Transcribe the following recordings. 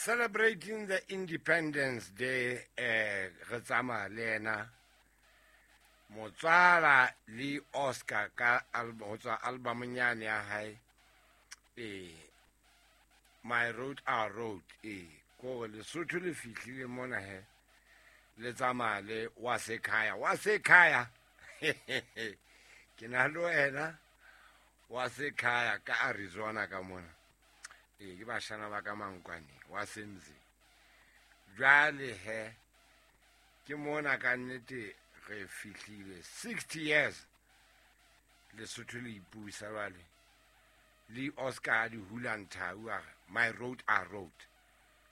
Celebrating the Independence Day, re tsamaya le ena motswala le Oscar ka ho tswa albumong yane ya hae, My Road Our Road. Kore Lesotho le fihlile mona he, le tsamaya le wa sekhaya, wa sekhaya. Ke na le wena wa sekhaya ka Arizona ka mona. Ke bashana ba ka Mankwane wa Semzi. Jwale he ke mona ka nnete re fihlile 60 years Lesotho le ipusa jwale. Le Oscar di hula nthau a re, My Road Our Road.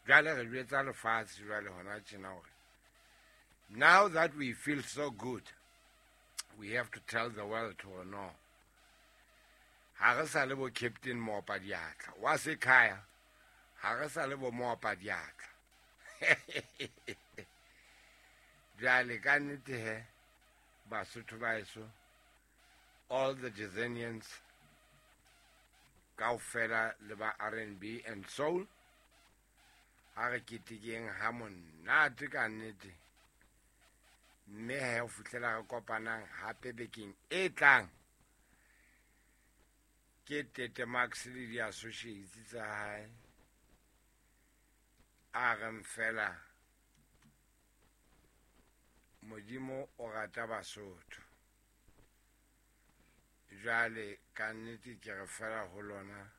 Jwale re jwetsa lefatshe jwale hona tjena hore now that we feel so good, we have to tell the world to no. Ha re sa le bo Captain Mopa diatla wa sekhaya, ha re sa le bo Mopa diatla. Jwale ka nnete he, Basotho ba heso, all the Jazanians kaofela le ba R&B and soul, ha re ketekeng ha monate ka nnete. Mme he ho fihlela re kopanang hape bekeng e tlang, ke Tete Max le di-associates tsa hae a reng fela Modimo o rata Basotho. Jwale ka nnete ke re fela ho lona,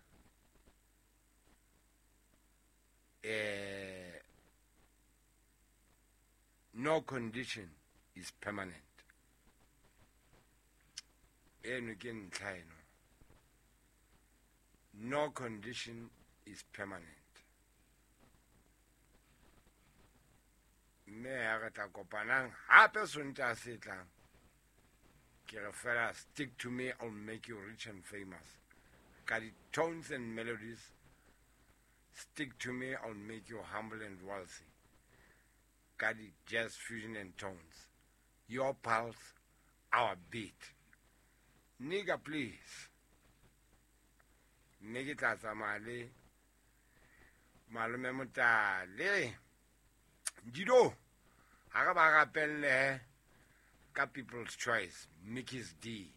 no condition is permanent. Eno ke ntlha eno. No condition is permanent. Mme ha re tla kopanang hape Sontaha se tlang, ke re fela stick to me, I'll make you rich and famous. Ka di tones and melodies, stick to me, I'll make you humble and wealthy. Ka di jazz fusion and tones, your pulse, our beat. Nigga, please. Mme ke tla tsamaya le malome Motale. Dido, ha re ba rapelle ka People's Choice, Mickey's D.